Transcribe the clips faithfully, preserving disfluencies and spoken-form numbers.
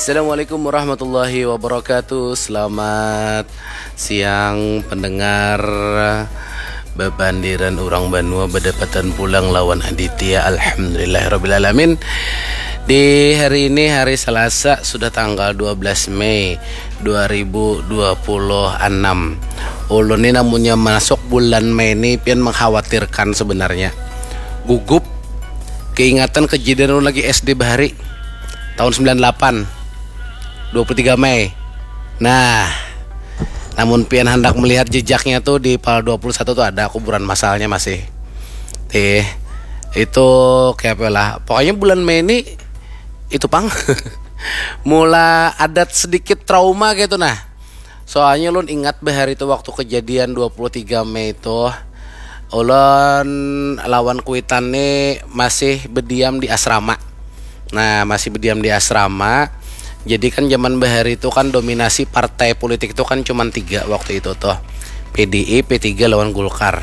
Assalamualaikum warahmatullahi wabarakatuh. Selamat siang pendengar. Bapandiran urang banua badapatan pulang lawan Aditya. Alhamdulillahirabbil alamin. Di hari ini hari Selasa sudah tanggal dua belas Mei dua ribu dua puluh enam. Ulun ni namunnya masuk bulan Mei ni pian mengkhawatirkan sebenarnya. Gugup. Keingatan kejadian ulun lagi S D bahari. Tahun sembilan delapan. Dua puluh tiga Mei. Nah, namun pian handak melihat jejaknya tuh di pal dua puluh satu tuh ada kuburan masalnya masih. Tih, itu kayak apa lah. Pokoknya bulan Mei ini itu pang. Mula adat sedikit trauma gitu nah. Soalnya ulun ingat bahari itu waktu kejadian dua puluh tiga Mei itu ulun lawan kuitan nih masih berdiam di asrama. Nah, masih berdiam di asrama. Jadi kan zaman bahari itu kan dominasi partai politik itu kan cuman tiga waktu itu tuh. P D I, P tiga lawan Golkar.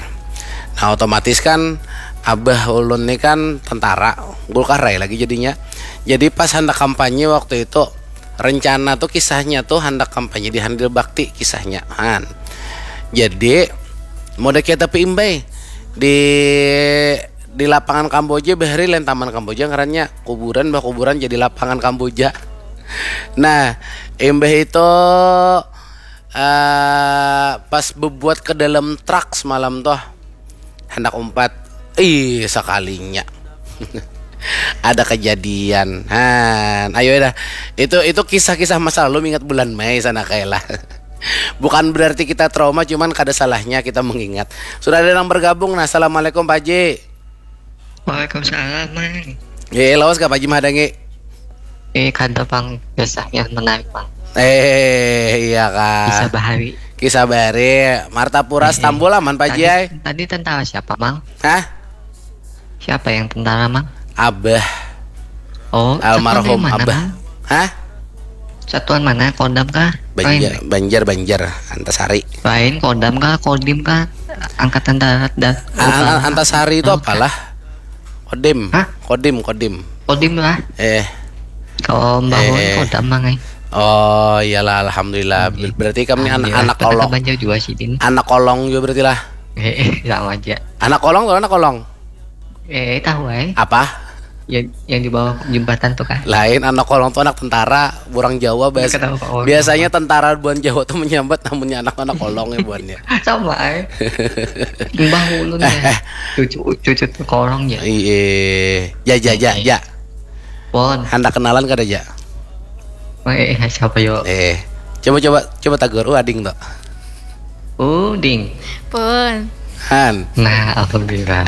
Nah, otomatis kan abah ulun nih kan tentara, Golkar rai lagi jadinya. Jadi pas hendak kampanye waktu itu rencana tuh kisahnya tuh hendak kampanye di Handil Bakti kisahnya. Han. Jadi mau ada kita imbai di di lapangan Kamboja bahari lain taman Kamboja ngarannya kuburan bah kuburan jadi lapangan Kamboja. Nah, imbah itu eh pas bebuat ke dalam truk semalam tuh hendak umpat. Ih, sekalinya ada kejadian. Han, ayo dah. Itu itu kisah-kisah masa lalu ingat bulan Mei sana kayak lah. Bukan berarti kita trauma, cuman kada salahnya kita mengingat. Sudah ada yang bergabung. Nah, assalamualaikum Pak Haji. Waalaikumsalam, Mang. Eh, lawas kah Pak Haji mahadangi? Eh, kada pang, kisahnya menarik, Mang. Eh, iya kah. Kisah bahari. Kisah bahari. Martapura Stambul aman Pak Haji Tadi, ai. Tadi tentara siapa, Mang? Hah? Siapa yang tentara, Mang? Abah. Oh, Almarhum satuan dari mana, Abah. Mang? Hah? Satuan mana? Kodam kah? Banjar, Lain, Banjar, Banjar, Antasari. Lain, Kodam kah? Kodim kah? Angkatan Darat dan A- a- Antasari itu Oh, apalah? Kodim. Hah? Kodim, Kodim. Kodim lah. Eh, Kalau Mbah Won Eh. Kodam, Mang, eh. Oh, iyalah, alhamdulillah. Ber- Berarti kami an- Alhamdulillah, anak kata kolong. Banjar juga sih, Din. Anak kolong juga berarti lah. Eh, eh, sama aja. Anak kolong atau anak kolong? Eh, tahu, eh. Apa? Yang, yang di bawah jembatan tuh kan. Lain, anak kolong tuh anak tentara, orang Jawa bahas. Kenapa kolong? Biasanya tentara buan Jawa tuh menyambat namunnya anak-anak kolong ya buannya. Sama, eh. Mbah ulun ya. Cucu, cucu tuh kolong ya. Iya, ja ja ja ja. Pon. Handak kenalan kada ja? Eh, eh, siapa yo? Eh, coba coba coba tagur, uh ading tuh. Uh, ding. Pun. Han, Nah, alhamdulillah.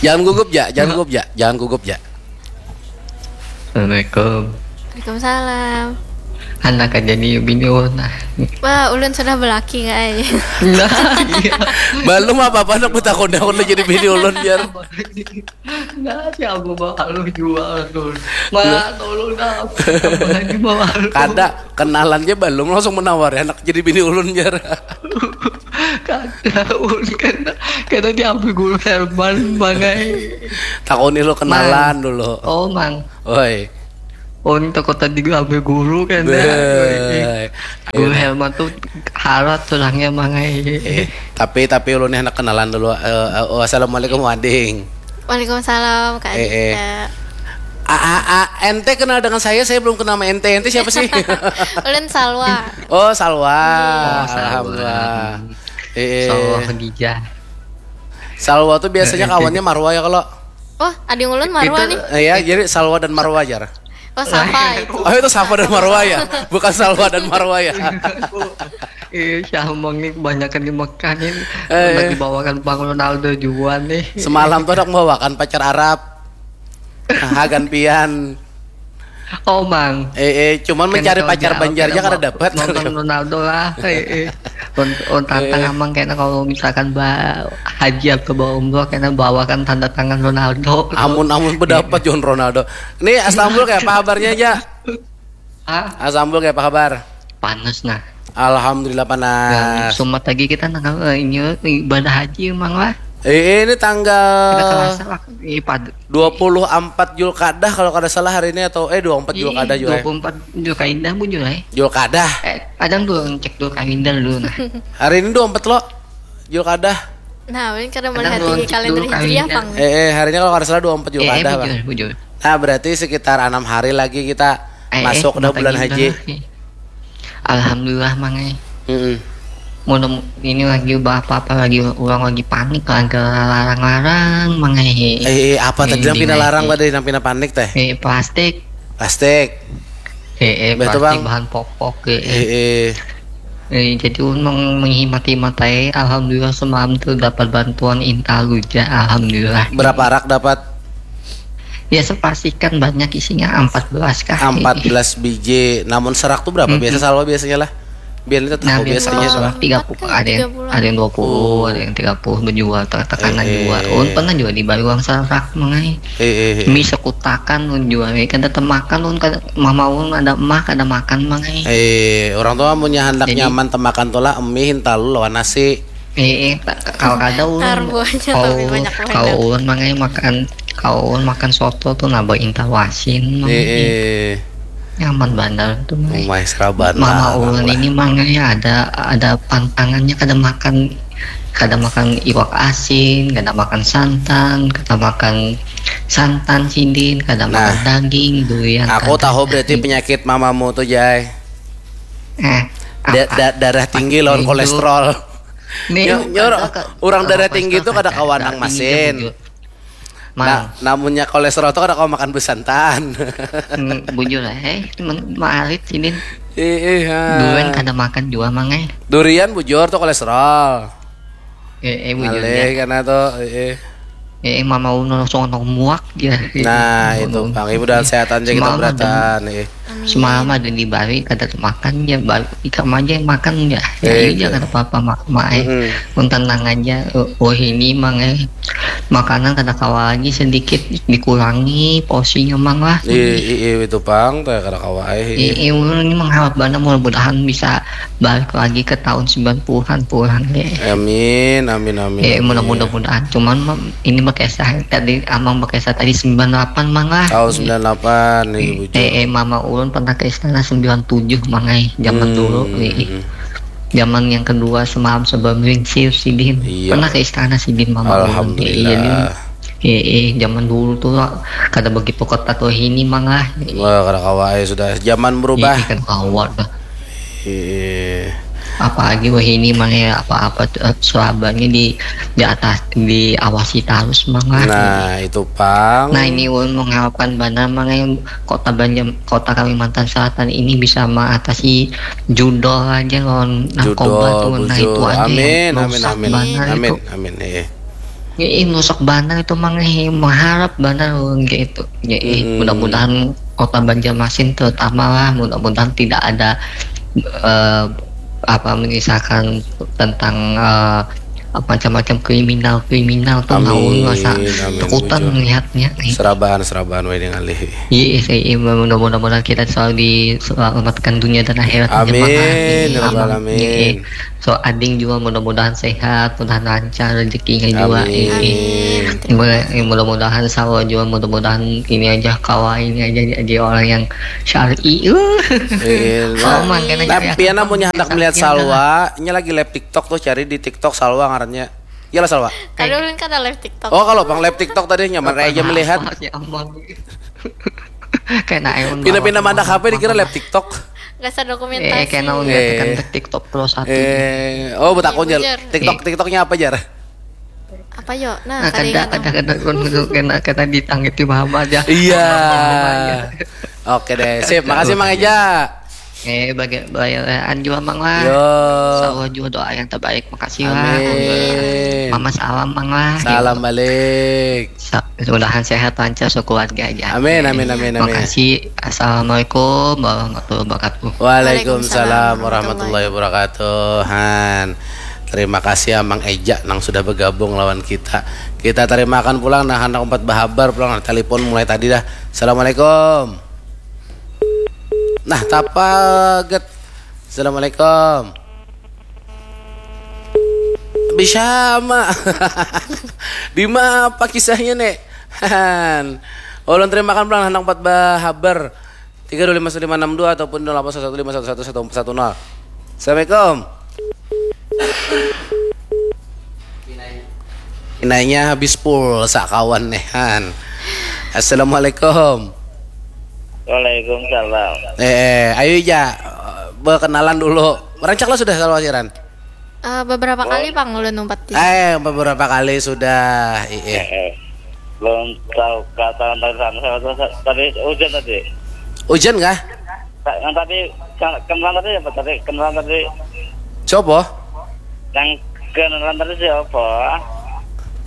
Jangan gugup ja, jangan gugup ja, jangan gugup ja. Assalamualaikum. Waalaikumsalam. Anak aja nih bini ulun nah. Wah, ulun sudah belaki guys. Nah, iya. Belum apa-apa anak betakun aku udah jadi bini ulun biar. Nah, si Abu Bakar lu jual tuh. Mana tolong dah. Tambah lagi mau malu. Kada kenalannya belum langsung menawari anak jadi bini ulun biar. Kada ulun kena kena diambil guru Herman mangai. Takuni lo kenalan dulu. Oh, Mang. Oi. Oh, ini takut tadi gue ambil guru kan dah. Beuh. Guru Herman tuh harat orangnya mangai. Eh, tapi tapi ulun nih anak kenalan dulu. Eh, eh, oh, assalamualaikum ading. Waalaikumsalam Kak Eh, eh. Aditya. A, a, a, ente kenal dengan saya, saya belum kenal sama ente. Ente siapa sih? Ulun Salwa. Oh, Salwa. Oh, Salwa. Alhamdulillah. Eh, eh. Salwa Khadijah. Salwa tuh biasanya kawannya Marwa ya kalau. Oh, ading ulun Marwa Itu- nih. Eh, ya, jadi Salwa dan Marwa aja. Oh, Safa itu. Oh, itu Safa dan Marwa ya, bukan Salwa dan Marwa ya. Iya, si Amang nih kebanyakan di Mekah nih. Eh. Lagi bawakan Bang Ronaldo juga nih. Semalam tuh ada membawakan pacar Arab. Hagan pian. Oh, Mang. Eh, eh, cuman mencari Kena pacar kalau Banjarnya kena kada ba- dapat. Nonton Ronaldo lah. Eh, eh. Un- un- tantang Eh. Amang kena kalau misalkan ba haji atau bawa umroh kena bawakan tanda tangan Ronaldo. Amun amun berdapat John Ronaldo. Nih Astambul kayak apa kabarnya aja? Ah, Astambul kayak apa kabar? Panas nah. Alhamdulillah Nah, panas. Sumat lagi kita nang eh, ini ibadah haji emang lah. Eh, ini tanggal Kada kerasa lah. Ih, pad- dua puluh empat Julkadah kalau kada salah hari ini, atau eh dua puluh empat Julkadah juga. Dua puluh empat Julkaidah bujur eh. Julkadah. Eh, ada dulu cek dulu kalender dulu nah. Hari ini dua puluh empat lo. Julkadah. Nah, ini kada Ada melihat dua di cek kalender dulu Hijriah kalender. pang. Eh, eh hari ini kalau kada salah dua puluh empat Eh, eh, Julkadah, Bang. bujur, bujur. Nah, berarti sekitar enam hari lagi kita Eh, eh, masuk dah mata bulan gila haji. Lagi. Alhamdulillah mang eh. Mm-mm. Mun ini lagi apa-apa lagi orang lagi panik lagi larang-larang mang eh. Eh, eh, apa tadi Ini nang pina dinaiki. Larang tadi, nang pina panik teh? Eh, plastik. Plastik. Eh, eh, Betul, plastik Bang. Bahan pokok eh. Eh, eh. Eh, jadi ulun meng- menghemat-hemat aja. Alhamdulillah semalam tuh dapat bantuan intalu ja. Alhamdulillah. Berapa rak dapat? Ya sepastikan banyak isinya empat belas kah? Empat belas biji. Namun serak tuh berapa? Biasa salwa biasanya lah. Biar kita Nah, tahu biasanya biasanya tuh. orang tiga puluh, ada yang ada yang dua puluh, ada yang tiga puluh menjual tekanan Eh, jual. eh. Ulun pernah juga dibayar uang serak mang ai. Eh, eh, eh. Mi sekutakan ulun jual, eh, kada temakan ulun kada mama ulun ada emak kada makan mang ai. Eh, orang tua punya hendak Jadi- nyaman temakan tuh lah emi hintalu lawan nasi. Eh, eh, ta- kalau kada ulun Taruh buahnya kalau tapi banyak-banyak. Kalau ulun mang ai makan kalau ulun makan soto tuh nambah intalu asin mang Eh, ai. eh. Nyaman banar tuh mang ai. Umai seraban Mama lah, ulun lah. Ini mang ai ada ada pantangannya kada makan kada makan iwak asin, kada makan santan, kada makan santan sidin, kada Nah, makan daging, durian. Aku kada. Tahu berarti penyakit mamamu tuh, Jai. Eh, Da- apa? da- darah tinggi lawan Itu. kolesterol. Nih, Nyor- nyor, kada ke- orang kada darah kolesterol tinggi tuh kada kada, kawan darah nang tinggi masin. Bujur. Nah, Mang, namunnya kolesterol tuh kada kawan makan besantan. mm, bujur eh, men- maarit sidin. Ih, ih, ha. Durian kada makan jua mang eh. Durian bujur tuh kolesterol. Eh, eh bujur Ngalih ya. Karena tuh, eh, eh. Eh, mama ulun langsung nang muak ya. Nah, itu Bang, ibu dan sehatan aja kita Semalam ada- beratan, eh. Semalam ada di Bali kada temakan ya, Bali ikam aja yang makan ya. Ya Eh, iya kada apa-apa mak mak eh. Mm-mm. Mun tenang aja. Oh ini mang eh, makanan kada kawa lagi, sedikit dikurangi porsinya mang lah. Iya, iya, itu Bang, teh kada kawa eh. Eh, eh, ulun ini mengharap banar mudah-mudahan bisa balik lagi ke tahun sembilan puluhan pulang deh. Amin, amin, amin. Eh, Amin. Mudah-mudahan. Cuman ini bekesah tadi, amang bekesah tadi sembilan delapan mang lah. Tahun sembilan delapan nih, bujur. Eh, eh, mama ulun pernah ke istana sembilan tujuh mang ai, zaman dulu nih. Zaman yang kedua semalam sebelum lingsir sidin. Iya. Pernah ke istana sidin mama ulun. Alhamdulillah. Iya, eh, zaman dulu tuh lah, kada begitu ketat wahini mang lah. Wah, kada kawa ya sudah zaman berubah. Iya, kada kawa dah. Iya. Apalagi wahini mang ya, apa-apa tuh, eh, selabanya di di atas, diawasi terus mang lah. Nah, itu Bang. Nah, ini ulun mengharapkan banar mang ya, kota Banjar, kota Kalimantan Selatan ini bisa mengatasi judol aja lawan narkoba Judol, tuh. Nah, itu bujur. Aja Amin, yang amin, merusak amin. Banar Amin, itu. Amin. Eh. Ya, eh, merusak banar itu mang eh, mengharap banar ulun kayak itu. Ya, eh, mudah-mudahan kota Banjarmasin terutama lah, mudah-mudahan tidak ada eh, apa menyisakan tentang eh, macam-macam kriminal-kriminal tuh. Nah, ulun rasa Amin, amin, takutan bujur. Melihatnya. Eh. Seraban, seraban, weh, dengan lihi. Iya, iya, iya, mudah-mudahan kita selalu di selalu mendapatkan dunia dan akhirat. Amin, ya rabbal alamin. So ading juga mudah-mudahan sehat, mudahan lancar rezekinya juga. Amin. Eh, eh. Mudah- eh, Mudah-mudahan selalu juga, mudah-mudahan ini aja kawa ini aja jadi orang yang syar'i. Uh. Eh, Oh, mangkana nah, cari pian apa? Amunnya hendak Sakit melihat ya, Salwa, nya lagi live TikTok tuh, cari di TikTok Salwa ngarannya. Iyalah, Salwa. Kada ulun kada live TikTok. Oh, kalau Bang live TikTok tadi nyaman aja melihat. Ya ampun. Kena ayo. Pindah-pindah mandak H P dikira live TikTok. Rasa Eh, dokumentasi. kena ulun Eh. katakan TikTok Pro satu. Eh, oh, betakun, Iya, Jar. Bujur. TikTok, TikToknya apa, Jar? Apa yo? Nah, Nah, kada kada ingat kada aku. kada kada kada kena ditanggapi Muhammad ya. Iya. Oke deh, sip. Makasih, Mang Eja. Eh, bagi bayaan juga mang lah. Yo. Selalu juga doa yang terbaik. Makasih lah. Amin. Mama salam mang lah. Salam balik. Sa- Mudahan sehat lancar sekeluarga aja. Amin, amin, amin, amin. Makasih. Assalamualaikum warahmatullahi wabarakatuh. Waalaikumsalam warahmatullahi wabarakatuh. Han. Terima kasih Amang Eja nang sudah bergabung lawan kita. Kita terimakan pulang, nah, hendak umpat bahabar pulang, nah, telepon mulai tadi dah. Assalamualaikum. Nah, tapaget. Assalamualaikum. Sama. Di mana kisahnya nih? Han. Ulun terima kan pulang handak empat bahabar. Tiga dua lima lima enam dua ataupun dua delapan satu lima satu satu satu satu nol. Assalamualaikum. Pinanya habis pulsa kawan nih, Han. Assalamualaikum. Waalaikumsalam. Eh, ayo ja, berkenalan dulu. Rancak lah sudah kalau siaran. Eh, beberapa kali pang ulun numpat di. Eh, beberapa kali sudah. Iya. Eh, belum tahu kata tentang sana, sana, sana, tadi hujan tadi. Hujan kah? Ta- Yang tadi kan- kenalan tadi apa tadi? Kenalan tadi Sopo? Yang kenalan tadi siapa?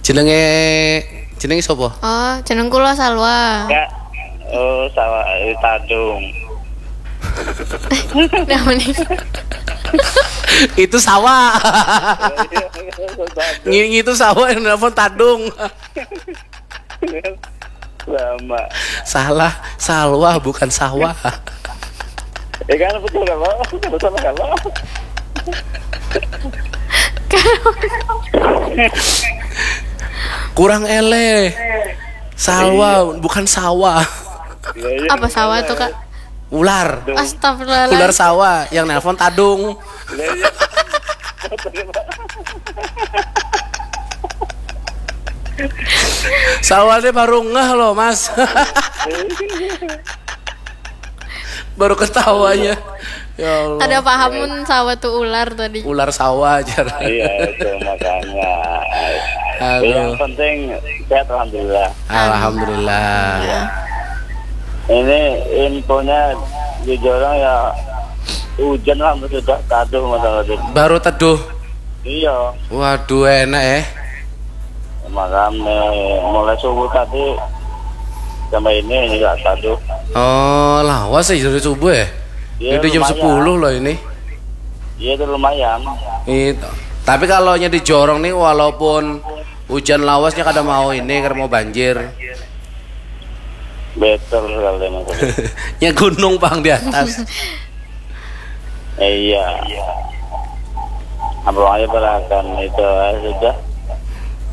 Jenenge jenenge sopo? Oh, jeneng kula Salwa. Ya. Oh, sawah di Tadung. Nama nih? Itu sawah. Ngingi itu sawah yang nelpon Tadung. Sama. Salah, Salwa bukan sawah. Ya kan betul kalau betul kalau Kurang ele. Salwa bukan sawah. Ya, iya. Apa sawah tuh, Kak? Ular. Astagfirullah. Ular sawah yang nelpon Tadung. Ya, iya. Sawahnya baru ngeh loh, Mas. Baru ketawanya. Ya Allah. Ada pahamun sawah tuh ular tadi. Ular sawah aja. Iya, itu makanya. Aduh. Yang penting sehat, alhamdulillah. Alhamdulillah. Ya. Ini infonya di Jorong ya hujan lah sudah taduh masalah itu. Baru teduh. Iya, Waduh, enak eh. Makanya mulai subuh tadi sampai ini juga taduh. Oh, lawas sih dari subuh ya. Iya, Udah jam lumayan. sepuluh loh ini. Iya, itu lumayan. Itu. Tapi kalau nya di Jorong nih, walaupun hujan lawasnya kada mau ini karena mau banjir. Betul sekali, Mas. Ya gunung pang di atas. Eh, iya. Apa aja berakan itu, eh, sudah.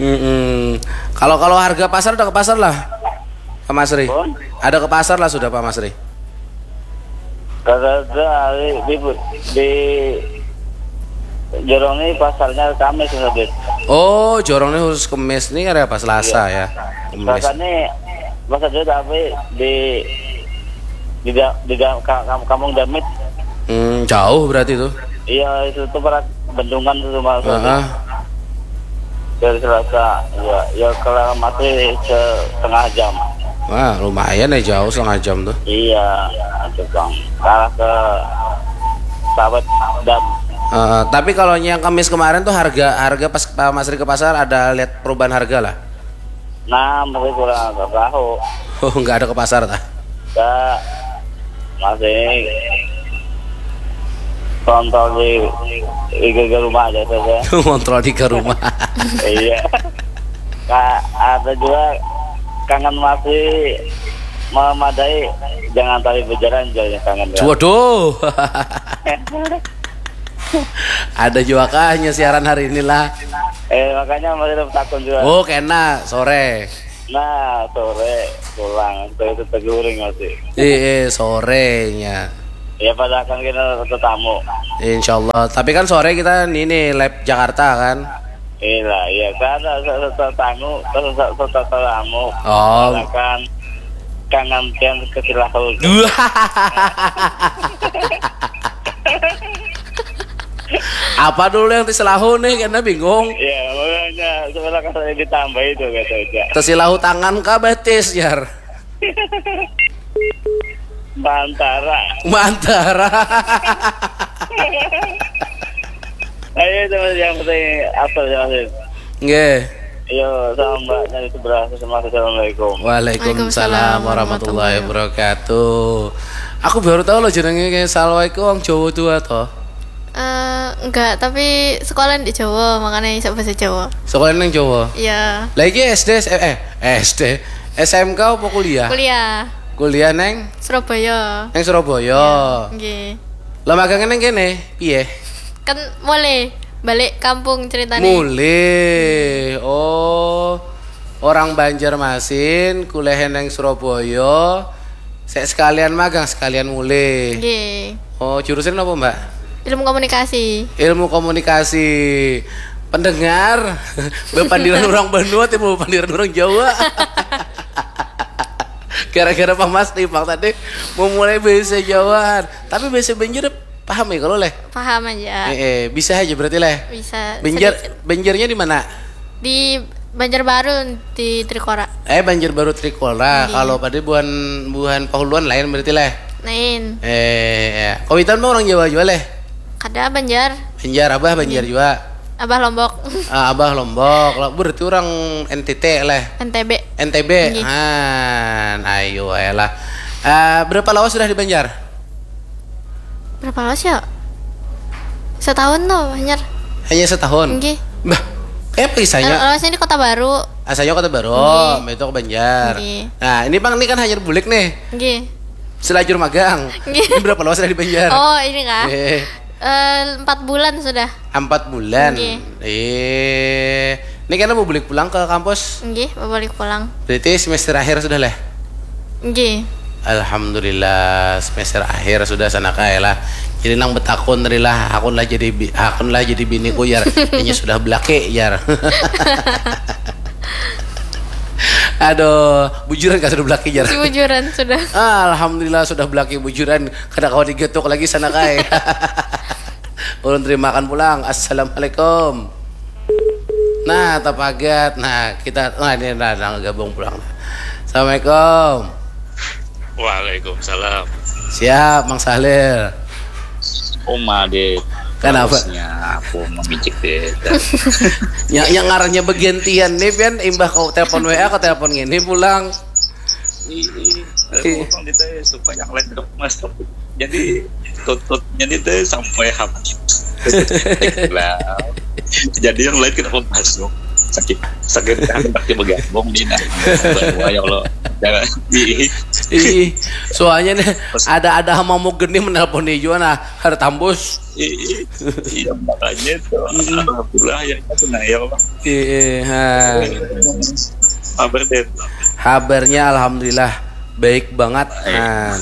Mm-mm. Kalau kalau harga pasar, udah ke pasar lah, Pak Masri. Pun Ada ke pasar lah sudah, Pak Masri. Kata ada hari di di Jorong ini pasarnya Kamis, Mas Adit. Oh, Jorong ini khusus Kemis nih, ada apa, Selasa ya? Kemis. Selasa ini Mas Adit, tapi di di da- di da- ka- kam- kampung Damit. Hmm, jauh berarti tuh. Iya, itu tuh para bendungan tuh, Mas Adit. Heeh. Dari Selasa, ya, ya kalau masih setengah jam. Wah, lumayan ya, jauh setengah jam tuh. Iya, itu, Bang. Arah ke Sawet Dam. Eh, tapi kalau yang Kemis kemarin tuh, harga harga pas Pak Masri ke pasar, ada lihat perubahan harga lah? Nah, masih kurang agak tahu. Oh, nggak ada ke pasar tah? Ya, masih kontrol di di geger rumah aja saja. Kontrol di ke rumah. Iya. Kak, ada juga kangen masih memadai, jangan tali berjalan, jadinya kangen ya. Waduh. Ada juga kah hanya siaran hari inilah? Eh, makanya masih ada takun juga. Oh, kena sore. Nah, sore pulang, sore itu teguring masih. Eh, eh, sorenya. Ya, padahal kan kita tetamu. Insya Allah. Tapi kan sore kita ini nih, live Jakarta kan. Iya, ya, kan ada tetamu, tetamu. Oh. Kan kangen pian ke Silahu. Apa dulu yang diselahu nih, karena bingung. Ya, makanya sebelah kan saya ditambah itu, kata aja. Tesilahu tangan kah betis, Jar? Mantara. Mantara. Ayo, teman, yang penting apa ya, Mas? Nggih. Yo, sama mbaknya di sebelah. Assalamualaikum. Waalaikumsalam warahmatullahi wabarakatuh. Aku baru tahu loh jenenge kayak Salwa itu orang Jawa tua toh. Eh, enggak, tapi sekolah di Jawa, makanya bisa bahasa Jawa. Sekolah nang Jawa. Iya. Lagi S D, S- eh, eh, S D, S M K apa kuliah? Kuliah Kuliah neng Surabaya. neng Surabaya. Nggih. Lah magangnya neng kene, piye? Kan boleh. Balik kampung ceritanya. Mulih. Oh, orang Banjarmasin kuliah nang Surabaya. Sek sekalian magang, sekalian mulih. Nggih. Oh, jurusan apa, Mbak? Ilmu komunikasi. Ilmu komunikasi. Pendengar, bepandiran orang Banua, timbul bepandiran orang Jawa. Gara-gara Pak Mas nih, Pak, tadi memulai bahasa Jawaan. Tapi bahasa Banjar paham ya kalau leh? Paham aja. Eh, eh, bisa aja berarti leh. Bisa. Banjar, sedikit. Banjarnya di mana? Di Banjarbaru, di Trikora. Eh, Banjarbaru Trikora. Iya. Kalau pada buhan, buhan Pahuluan lain berarti leh. Lain. Eh, ya. Kawitan mah orang Jawa juga leh? Kada, Banjar. Banjar, abah Banjar juga. Abah Lombok. Ah, abah Lombok. Lah, berarti orang N T T leh. N T B. N T B. Nggih. Han, ayo ayolah. Ah, berapa lawas sudah di Banjar? Berapa lawas ya? Setahun tuh, Banjar. Hanya setahun? Nggih. Bah, kayak apa kisahnya? Lawasnya di Kota Baru. Asalnya Kota Baru, nggih. Itu ke Banjar. Nggih. Nah, ini Bang, ini kan hanyar bulik nih. Nggih. Selajur magang. Nggih. Ini berapa lawas sudah di Banjar? Oh, ini kah? Eh. Eh, empat bulan sudah. Empat bulan. Nggih. Eh, ini kan mau balik pulang ke kampus? Nggih, mau balik pulang. Berarti semester akhir sudah leh? Nggih. Alhamdulillah, semester akhir sudah sana kae lah. Jadi nang betakun tadi lah, aku lah jadi bi-, aku lah jadi biniku, jar. Hanya sudah belaki, jar. Aduh, bujuran kah sudah belaki, jar? Bujuran sudah. Ah, alhamdulillah sudah belaki bujuran. Kada kawa digetuk lagi sana kae. Ulun terimakan pulang. Assalamualaikum. Nah, tapagat. Nah, kita, nah, ini nah, nah, gabung pulang. Assalamualaikum. Waalaikumsalam. Siap, Mang Sahlil. Uma deh. Kenapa? Terusnya aku memicik deh. Yang, yang ngarannya bergantian nih, Pian, imbah kau telepon W A, kau telepon ngini pulang. Ih, ih. Ih. Telepon di teh supaya yang lain tidak masuk. Jadi tututnya di teh sampai habis. Lah. Jadi yang lain tidak masuk. Sakit, sakit hati bergabung di nah. Ya Allah. Jangan. Ih. Ih, soalnya nih ada-ada mau geni menelpon nih juga nah, ada tambus. Ih, iya, makanya itu. Mm-mm. Alhamdulillah ya, itu nah ya Allah. Ih, ih, ha. Kabar deh. Kabarnya alhamdulillah baik banget, eh. Han.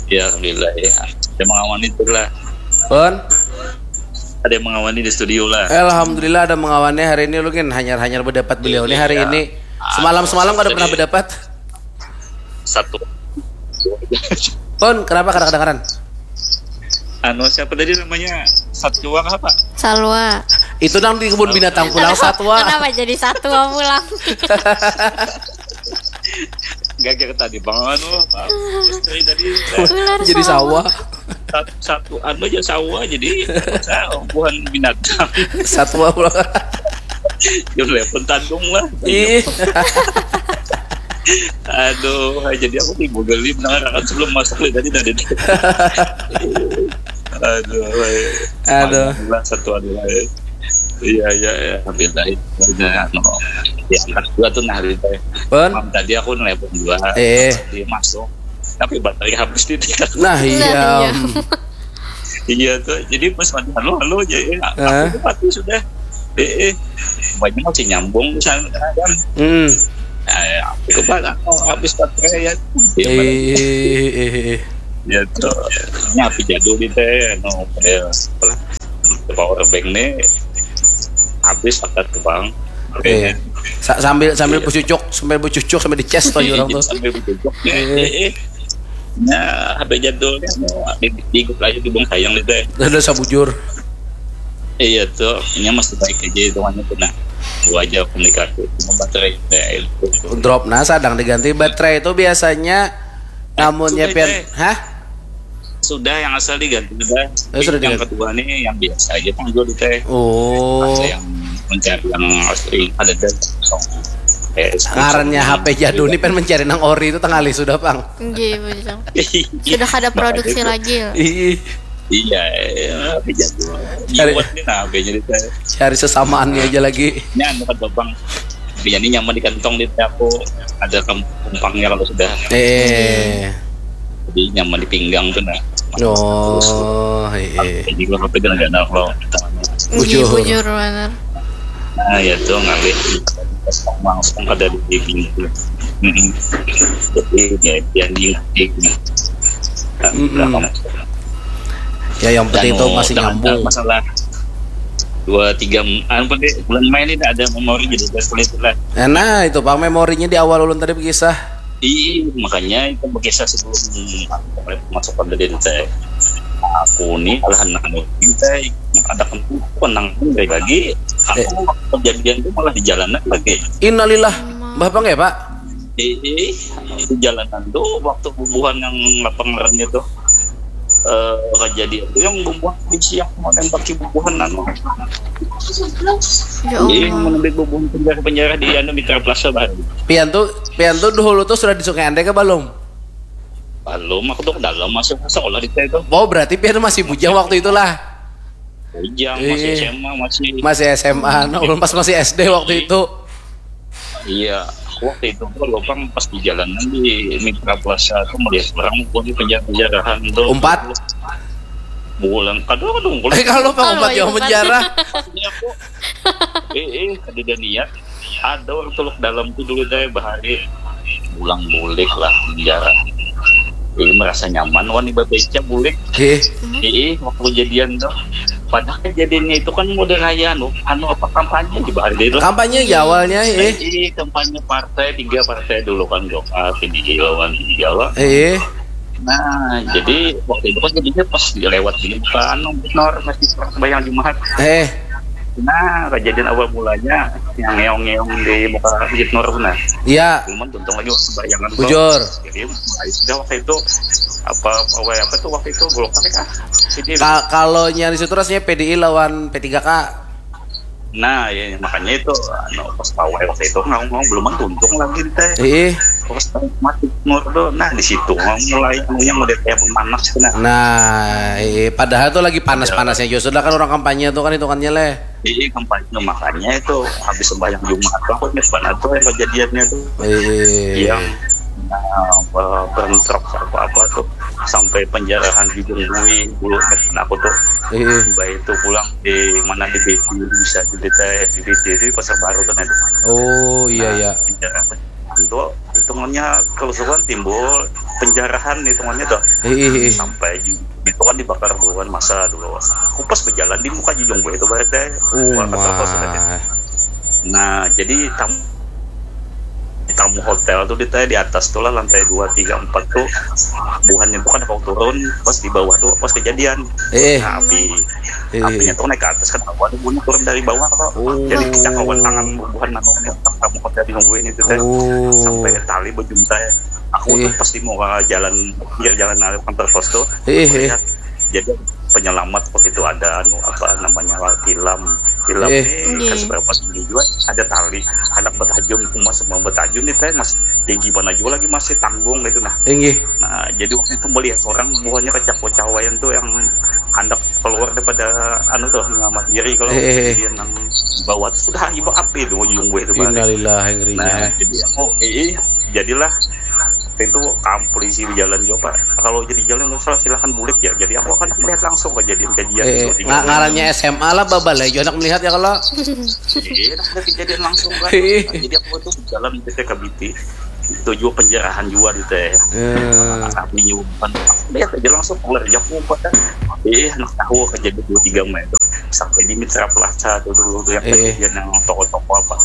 Ya, alhamdulillah ya. Ada mengawani tu lah. Pun? Ada yang mengawani di studio lah. Alhamdulillah ada mengawani hari ini, lu kan hanyar-hanyar berdapat beliau nih hari ini. Semalam-semalam kada pernah berdapat. Satu. Pun, kenapa kada kedengaran? Anu, siapa tadi namanya? Satwa apa? Salwa. Itu nang di kebun binatang pulang, satwa. Kenapa jadi satwa pulang? Gagak tadi, Bang, anu, Bang. Terus tadi, tadi, ular. Jadi sawah. Satu, satu anu aja sawah, jadi sa-, bukan binatang. Satwa pulang. Yang telepon tandung lah. Ih. Aduh, jadi aku timbul geli mendengarkan sebelum masuk tadi, tadi. Aduh, weh. Aduh. Alhamdulillah, satu anu, weh. Iya, iya, iya. Alhamdulillah. Udah, anu. Ya, angkat dua tuh, nah, gitu. Pun? Mam, tadi aku nelpon dua. Eh. Dia masuk. Tapi baterai habis di dia. Nah, iya. Nah, iya. Iya tuh, jadi pas mati halo, halo aja, ya. Hah? Aku tuh mati sudah. Eh, eh. Banyak masih nyambung di sana, kan. Hmm. Nah, ya, aku coba lah, oh, habis baterai ya. Iya, eh, eh, eh, eh. Ya tuh, nyapi jadul di teh, no, ya, apa lah, power bank nih habis pakai ke bank. Eh, sa-, sambil, sambil, iya, bercucuk, sambil bercucuk, sambil dicas tuh orang tuh. Sambil bercucuk. Eh. Eh, eh. Nah, H P jadulnya mau di, di, di lagi di bung sayang itu ya. Ada sabujur. Iya tuh, ini masih baik aja hitungannya tuh, nah. Gua aja komunikasi, cuma baterai, nah, itu. Drop, nah, sadang diganti baterai itu biasanya, eh, namunnya sudah, pian, eh. Hah? Sudah, yang asal diganti sudah. Oh, sudah diganti. Yang kedua nih yang biasa aja panggil di teh. Oh. Ada yang mencari yang asli, ada dan kosong. Eh, ngarannya H P jadul nih, pengen mencari nang ori itu tengah sudah, Pang. Nggih, betul. Sudah kada produksi lagi. Ih. Iya, iya, H P jadul. Cari, buat nih, nah, H P jadi teh. Cari sesamaannya aja lagi. Ini anu kan, Bang. Tapi jadi nyaman di kantong di aku ada kem-, kempangnya kalau sudah. Eh. Jadi nyaman di pinggang tuh nah. Oh, iya. Jadi kalau H P jangan kalau Bujur. Bujur banar. Nah, ya tuh ngalih langsung kada di pintu. Mm-mm. Jadi ya dia di Mm-mm. Ya yang penting itu masih nyambung. Masalah dua tiga, anu, pada bulan Mei ini ada memori jadi kulit lah. Nah, itu Pak, memorinya di awal ulun tadi berkisah. Iya, makanya itu berkisah sebelum masuk ke D T. Aku nih lah nang D T, ada kan penang pun dari lagi. Aku Eh. Waktu kejadian itu malah di jalanan lagi. Innalillah. Mbah pang ya, Pak? Di di jalanan tuh waktu bubuhan yang apa ngarannya tuh, eh, kejadian tuh yang bubuhan polisi yang mau nembaki bubuhan anu. Ya Iya, Allah. menembak bubuhan penjara-penjara di anu Mitra Plaza baru. Pian tuh, pian tuh dulu tuh sudah di Sungai Andai ke belum? Belum, aku tuh dalam masuk sekolah di situ. Oh, berarti pian masih bujang waktu itulah. Bujang, masih Iya. S M A, masih Masih S M A, nah, ulun pas masih S D waktu itu. Iya, aku waktu itu tuh lopang pas di jalanan di Mitra Plaza tuh melihat orang pun penjara-penjarahan tuh. Umpat. Bulan kadang kadang Eh, kalau Pak Umpat Kalau yang Umpat. penjara. Ini aku eh eh kada ada niat, ada orang tuluk dalam tuh dulu teh bahari pulang bulik lah penjara. Jadi merasa nyaman wani babeca bulik. Eh, Ih, waktu kejadian tuh. Padahal kejadiannya itu kan mau raya anu, anu apa kampanye di bahari itu. Kampanye ya awalnya, eh. Ih, kampanye partai, tiga partai dulu kan, Golkar, P D I lawan Jawa. Eh, Nah, jadi waktu itu kan jadinya pas lewat di muka anu Nor masih sembahyang Jumat. Eh, Nah, kejadian awal mulanya yang ngeong-ngeong di muka Masjid Nur, nah. Iya. Cuman untung lagi waktu sembahyang kan. Bujur. Jadi mulai sudah waktu itu apa apa apa tuh waktu itu Golkar kah? Jadi Ka- kalau nyari situ rasanya P D I lawan P tiga K. Nah, ya makanya itu anu, pas pawai waktu itu ngomong belum tuntung lagi teh. Ih, Pas mati Nur tuh, nah di situ mulai anunya mulai kayak memanas tuh, nah. Nah, ih, padahal tuh lagi panas-panasnya juga sudah kan orang kampanye tuh kan hitungannya leh. Jadi kampanye makanya itu habis sembahyang Jumat tuh aku ingat banget tuh yang kejadiannya tuh Ih, yang nah, be- bentrok apa apa tuh sampai penjarahan di Jungwui dulu ingat banget aku tuh. ih, Baik itu pulang di mana di B P bisa di D T, di D T itu di Pasar Baru kan ada. Oh iya iya. Penjarahan itu hitungannya kerusuhan timbul, penjarahan hitungannya tuh Ih, ih, ih. Sampai ju- itu kan dibakar buhan masa dulu. Aku pas berjalan di muka Jujung Buah itu berarti. Oh Wah, kata pas my. Nah, jadi tam di tamu hotel tuh di, di atas tuh lah lantai dua tiga empat tuh buhannya tuh kan kau turun pas di bawah tuh pas kejadian. Eh, eh. Nah, api Eh. Apinya tuh naik ke atas kan aku ada bunyi turun dari bawah kok. Oh. Jadi cakawan tangan bubuhan anu tamu hotel di nungguin itu teh. Oh. Sampai tali bejuntai. Aku Iya. Tuh pas di muka jalan pinggir jalan arah kantor pos tuh. Eh, eh. Lihat. Jadi penyelamat waktu itu ada anu apa namanya tilam tilam Eh. nih kan Iya. seberapa sini juga ada tali anak betajun emas mau betajun nih teh mas tinggi mana juga lagi masih tanggung gitu nah Inggih. Nah, jadi waktu itu melihat seorang buahnya kecak-kecawaian tuh yang hendak keluar daripada anu tuh nyelamat diri kalau Eh, eh, eh. Dia nang di bawah tuh sudah ibu api di ujung gue itu Bang. Innalillahi ngerinya. Nah, jadi aku eh jadilah itu kam polisi di jalan juga Pak. Kalau jadi jalan nggak salah silahkan bulik ya. Jadi aku akan melihat langsung kejadian-kejadian Eh, itu. nga- ngarannya S M A lah babal ya, anak melihat ya kalau. Iya, ada kejadian langsung kan. Iya. Nah, jadi aku itu di jalan di T K B T tujuh penjarahan juga di teh. Eh, Kami juga bukan lihat aja langsung keluar aja aku buat eh anak tahu kejadian dua tiga Mei itu sampai di Mitra Plaza tuh dulu tuh yang Eh, eh. kejadian yang toko-toko apa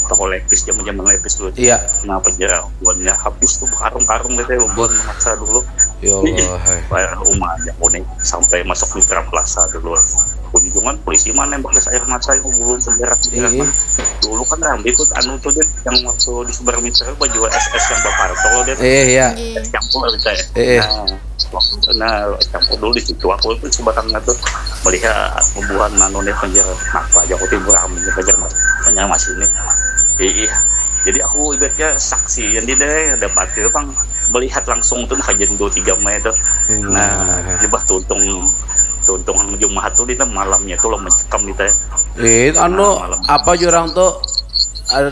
toko lepis zaman zaman lepis dulu. Iya. Nah penjara buannya habis tuh karung-karung gitu ya buat maksa dulu. Ya Allah. Hai. Bayar rumah aja aku nih sampai masuk Mitra Plaza dulu. Kunjungan polisi mana yang bekas air mata yang belum penjara penjara Iya. Dulu kan ramai tuh anu tuh Dit, yang waktu di seberang Mitra baju S S yang bapak tuh Dit. Eh ya. Iya. Campur kita ya. Eh, eh. Nah, waktu itu, nah campur dulu di situ aku tuh sebatangnya tuh melihat pembuahan anu nih penjara apa aja aku timbul ramai penjara mas penjara masih ini iya jadi aku ibaratnya saksi yang di deh dapat itu bang melihat langsung tuh kajian dua tiga Mei itu nah Wah. jebah tuntung Tuntung Jumahat tu di malamnya tu lah mencekam kita. Eh, anu, nah, malam. Apa jurang tu?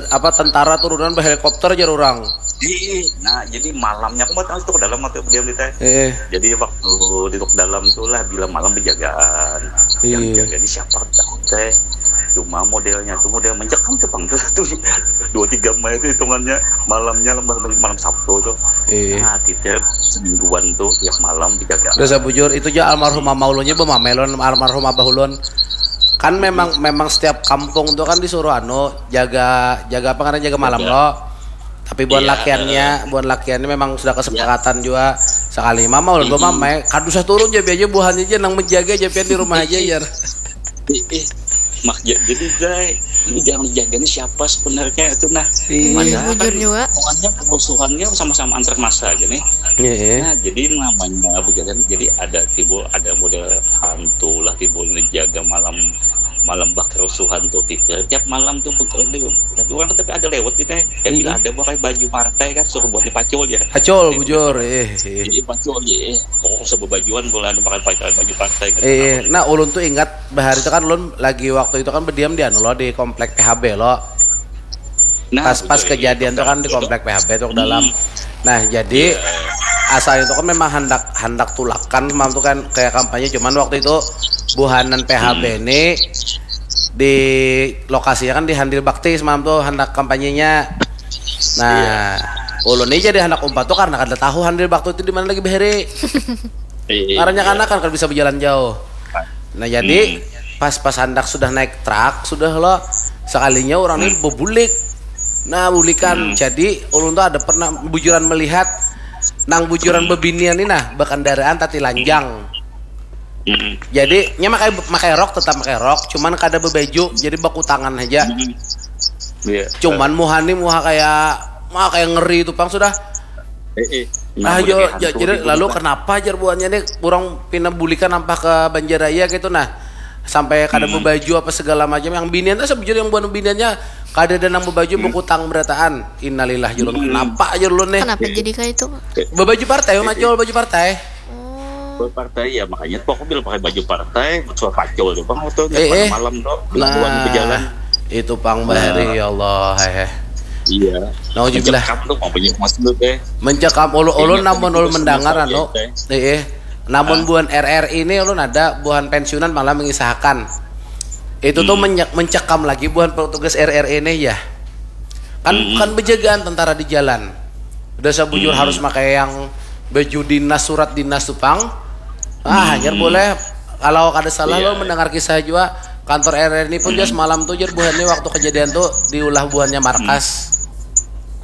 Apa tentara turunan berhelikopter jar orang. Ih, nah jadi malamnya aku mau tahu itu ke dalam atau diam kita. Eh. Jadi waktu di dalam tu lah bila malam penjagaan. Iya. Yang jaga di siapa teh? Cuma modelnya tuh model mencekam tuh bang tuh dua tiga mai itu hitungannya malamnya lembah malam Sabtu tuh. Iya. Nah, tiap semingguan tuh tiap malam dijaga. Udah saya bujur itu aja almarhum mama ulunnya bu mamelon almarhum abah ulun. Kan memang memang setiap kampung tuh kan disuruh anu jaga jaga apa karena jaga malam lo. Tapi buat iya, lakiannya, uh, buat lakiannya memang sudah kesepakatan iya. Juga. Sekali mama ulun mm-hmm. Mama, eh, kadusah turun jadi aja buahnya aja nang menjaga aja pian di rumah aja ya. Ih, mak jadi guys, ini jangan dijaganya siapa sebenarnya itu nah. Iya, bujur kan, juga. Pokoknya kerusuhannya sama-sama antar masa aja nih. Iya. Nah, jadi namanya bejalan jadi ada timbul ada model hantu lah timbul menjaga malam malam bak kerusuhan tuh tiap malam tuh tapi orang tapi ada lewat gitu ya bila ada pakai baju partai kan suruh buat dipacul ya pacul bujur eh, eh. Jadi pacul ya eh. Oh sebebajuan kalau ada pakai pakai baju partai gitu eh, nah ulun tuh ingat bahari itu kan ulun lagi waktu itu kan berdiam di anu lo di komplek P H B lo Nah, pas pas kejadian itu kan di komplek P H B tuh dalam. Nah, jadi yeah. Asal itu kan memang hendak hendak tulakan mam tuh kan kayak kampanye cuman waktu itu buhanan P H B hmm. Ini di lokasinya kan di Handil Bakti mam tuh hendak kampanyenya. Nah, yeah. Ulun ini jadi anak umpat tuh karena kada tahu Handil Bakti itu di mana lagi beri. Iya. Karena yeah. Anak kan kada bisa berjalan jauh. Nah, jadi hmm. Pas pas hendak sudah naik truk sudah lo sekalinya orang ini hmm. Bebulik. Nah, bulikan. Hmm. Jadi ulun tuh ada pernah bujuran melihat nang bujuran hmm. Bebinian ini nah berkendaraan tati lanjang. Hmm. Jadi nya makai makai rok tetap makai rok, cuman kada bebaju, jadi bakutangan aja. Hmm. Yeah. Cuman muha nih muha kayak muha kayak ngeri itu pang sudah. Eh, eh. Nah, nah, jadi lalu kenapa jar buahnya nih kurang pina bulikan nampah ke Banjaraya gitu nah sampai kada hmm. Baju apa segala macam yang binian tuh sebujur yang buah biniannya kada ada nang baju hmm. Bukutang berataan innalillah jurun hmm. Kenapa aja lu nih kenapa jadi kayak itu baju partai eh, eh. Macul baju partai Buat partai ya makanya tuh aku bilang pakai baju partai, suara pacul tuh bang waktu eh, eh. Malam tuh, nah, berjalan. Itu pang bahari nah. Ya Allah, eh. Iya. Nauzubillah. Mencekam tuh mau punya mas tuh teh. Mencekam ulu-ulu namun ulu mendengar anu. Eh, eh. Namun ah. Buhan R R I ini ulun ada buhan pensiunan malah mengisahkan. Itu hmm. Tuh mencekam lagi buhan petugas R R I ini ya. Kan hmm. Kan penjagaan tentara di jalan. Udah sabujur hmm. Harus pakai yang baju dinas surat dinas tupang. Ah, hmm. Hanyar boleh kalau kada salah yeah. Lo mendengar kisah juga kantor R R I ini pun hmm. Dia semalam tuh jer buhannya waktu kejadian tuh diulah buhannya markas.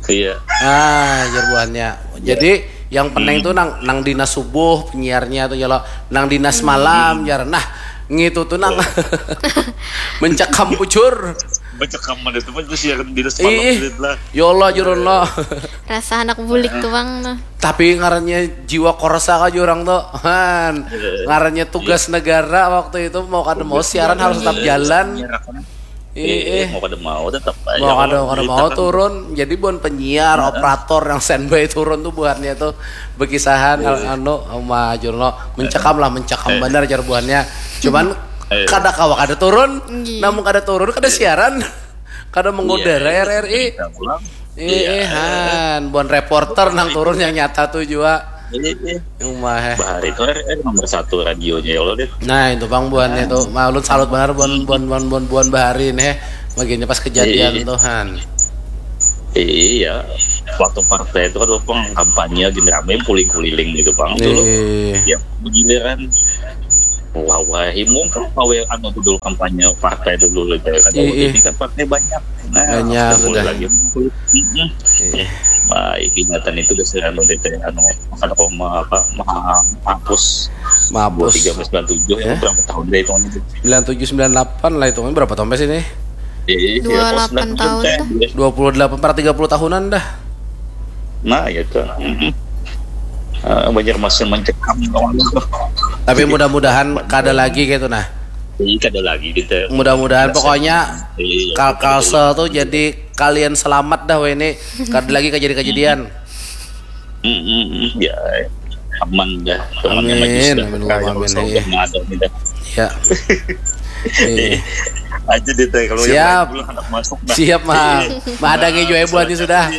Hmm. Iya. Yeah. Ah, jer buhannya. Yeah. Jadi yang penting hmm. Tuh nang nang dinas subuh penyiarnya tuh ya lo nang dinas hmm. Malam jar nah ngitu tuh nang mencekam bujur mencekam mana tuh siaran dinas malam lah ya Allah jurun lo rasa anak bulik tuh bang nah tapi ngarannya jiwa korsa aja orang tuh han ngarannya tugas iya. Negara waktu itu mau kada mau siaran harus tetap jalan iya, iya. Eh, mau kada mau tetap aja mau kada kada mau turun jadi bukan penyiar nah. Operator yang standby turun tuh buatnya tuh berkisahan iya. Anu sama Jurno mencekam lah mencekam eh. Benar jar buahnya cuman eh. Kada kawa kada turun iya. Namun kada turun kada iya. Siaran kada mengudara iya. R R I Iya, iya. Buan reporter nang turun yang nyata tuh juga. Iya, iya. Umah. Bahari itu R R nomor satu radionya ya Allah deh. Nah itu bang buannya tuh, maklun salut benar buan buan buan buan buan bahari nih, bagiannya pas kejadian iya. Tuhan. Iya, waktu partai itu kan pang kampanye gini rame puling kuliling gitu bang dulu. Iya. Ya, begiliran Wah, wah, himung kan pawe anu tuh dulu kampanye partai dulu lebih kan. Iya, iya. Ini kan partai banyak. Nah, banyak sudah. Lagi. Iya. Nah, ingatan itu udah sering anu teh anu makan koma apa mahapus. Mahapus. Tiga belas sembilan tujuh ya. Berapa tahun deh itu? Sembilan tujuh sembilan delapan lah itu berapa tahun sih nih? Iya, iya, dua puluh delapan tahun. Dua puluh delapan per tiga puluh tahunan dah. Nah, ya tuh. Uh, banyak masih mencekam kawan. Tapi mudah-mudahan kada lagi gitu nah. Iya, kada lagi gitu. Mudah-mudahan pokoknya iya, Kalkalsel tuh jadi kalian selamat dah weh ini. Kada lagi kejadian-kejadian. Hmm, hmm, hmm, ya. aman dah. Aman, amin, amin, amin, amin. Iya. Aja deh teh, kalau yang lain pulang anak masuk dah. Siap, Mang. Mahadangi jua ibu ani sudah.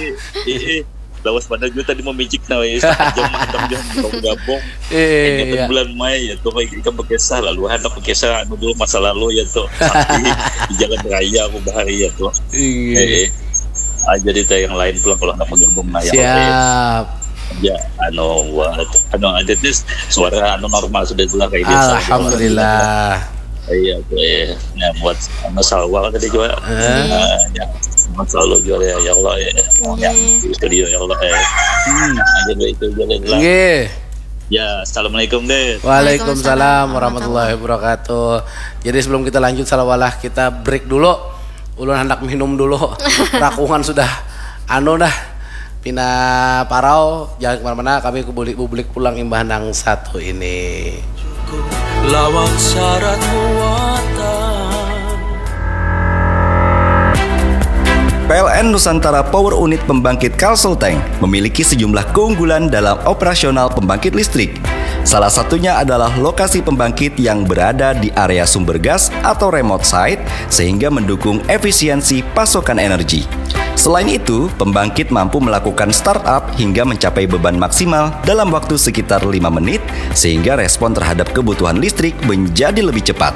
Lawas pada jua tadi mamicik nah, weh. Setengah jam, setengah jam, belum gabung. Iya. Bulan Mei ya tuh, kayak kita berkisah lalu, ada berkisah anu dulu masa lalu ya tuh. Tapi di jalan raya aku bahari ya tuh. Iya. Eh, eh. Ah, jadi teh yang lain pulang kalau anak bergabung nah ya. Siap. Ya, anu, buat anu aja nih, suara anu normal sudah jelas kayak biasa. Alhamdulillah. Iya, oke. Nah, buat Mas Salwa tadi juga. Eh. Eh, ya, Mas Salwa juga ya, ya Allah ya. Ya, di studio ya Allah ya. Hmm. Aja deh itu aja deh lah. Nggih. Ya, assalamualaikum deh. Waalaikumsalam warahmatullahi wabarakatuh. Jadi sebelum kita lanjut, salawalah kita break dulu. Ulun hendak minum dulu. Rakungan sudah anu dah. Pina parau, jangan kemana-mana, kami kebuli bubulik pulang imbah nang satu ini. Lawan syarat muatan. P L N Nusantara Power Unit Pembangkit Kalsel Tank memiliki sejumlah keunggulan dalam operasional pembangkit listrik. Salah satunya adalah lokasi pembangkit yang berada di area sumber gas atau remote site, sehingga mendukung efisiensi pasokan energi. Selain itu, pembangkit mampu melakukan startup hingga mencapai beban maksimal dalam waktu sekitar lima menit, sehingga respon terhadap kebutuhan listrik menjadi lebih cepat.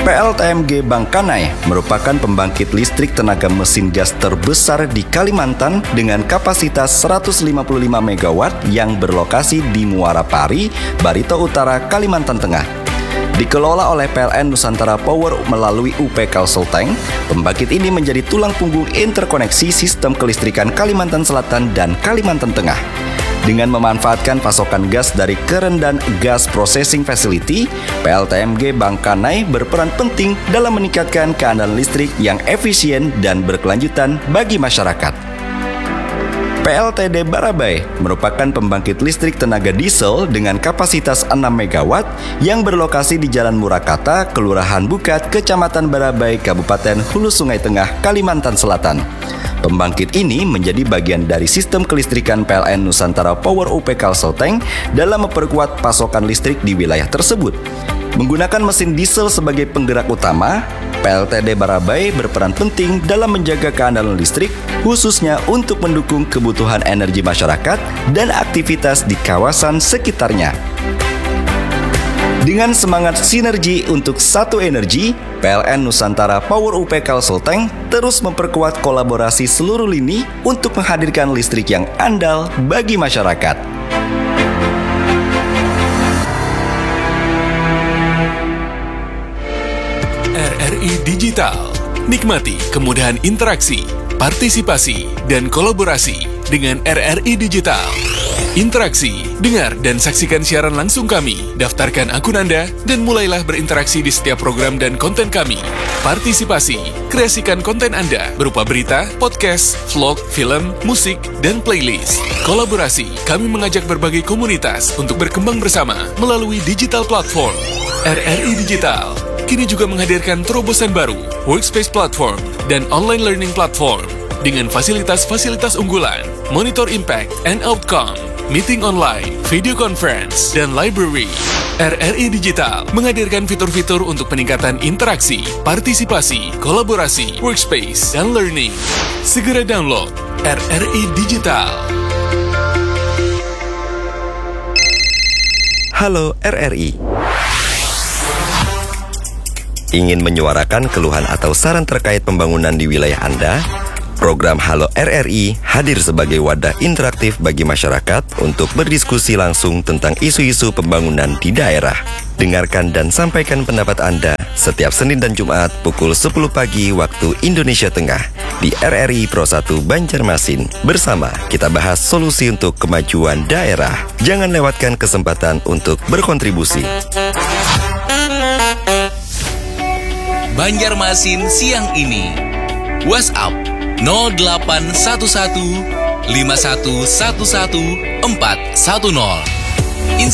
P L T M G Bangkanai merupakan pembangkit listrik tenaga mesin gas terbesar di Kalimantan dengan kapasitas seratus lima puluh lima megawatt yang berlokasi di Muara Pari, Barito Utara, Kalimantan Tengah. Dikelola oleh P L N Nusantara Power melalui U P Kalsel Tank, pembangkit ini menjadi tulang punggung interkoneksi sistem kelistrikan Kalimantan Selatan dan Kalimantan Tengah. Dengan memanfaatkan pasokan gas dari Kerendan Gas Processing Facility, P L T M G Bangkanai berperan penting dalam meningkatkan keandalan listrik yang efisien dan berkelanjutan bagi masyarakat. P L T D Barabai merupakan pembangkit listrik tenaga diesel dengan kapasitas enam megawatt yang berlokasi di Jalan Murakata, Kelurahan Bukat, Kecamatan Barabai, Kabupaten Hulu Sungai Tengah, Kalimantan Selatan. Pembangkit ini menjadi bagian dari sistem kelistrikan P L N Nusantara Power U P Kalsel Tank dalam memperkuat pasokan listrik di wilayah tersebut. Menggunakan mesin diesel sebagai penggerak utama, P L T D Barabai berperan penting dalam menjaga keandalan listrik, khususnya untuk mendukung kebutuhan energi masyarakat dan aktivitas di kawasan sekitarnya. Dengan semangat sinergi untuk satu energi, P L N Nusantara Power U P Kalsel Tank terus memperkuat kolaborasi seluruh lini untuk menghadirkan listrik yang andal bagi masyarakat. R R I Digital. Nikmati kemudahan interaksi, partisipasi, dan kolaborasi dengan R R I Digital. Interaksi, dengar dan saksikan siaran langsung kami. Daftarkan akun Anda dan mulailah berinteraksi di setiap program dan konten kami. Partisipasi, kreasikan konten Anda berupa berita, podcast, vlog, film, musik, dan playlist. Kolaborasi, kami mengajak berbagai komunitas untuk berkembang bersama melalui digital platform. R R I Digital kini juga menghadirkan terobosan baru, Workspace Platform, dan Online Learning Platform dengan fasilitas-fasilitas unggulan, monitor impact and outcome, meeting online, video conference, dan library. R R I Digital menghadirkan fitur-fitur untuk peningkatan interaksi, partisipasi, kolaborasi, workspace, dan learning. Segera download R R I Digital. Halo R R I. Ingin menyuarakan keluhan atau saran terkait pembangunan di wilayah Anda? Program Halo R R I hadir sebagai wadah interaktif bagi masyarakat untuk berdiskusi langsung tentang isu-isu pembangunan di daerah. Dengarkan dan sampaikan pendapat Anda setiap Senin dan Jumat pukul sepuluh pagi waktu Indonesia Tengah di R R I Pro satu Banjarmasin. Bersama kita bahas solusi untuk kemajuan daerah. Jangan lewatkan kesempatan untuk berkontribusi. Banjarmasin siang ini. WhatsApp nol delapan satu satu lima satu satu satu empat satu nol.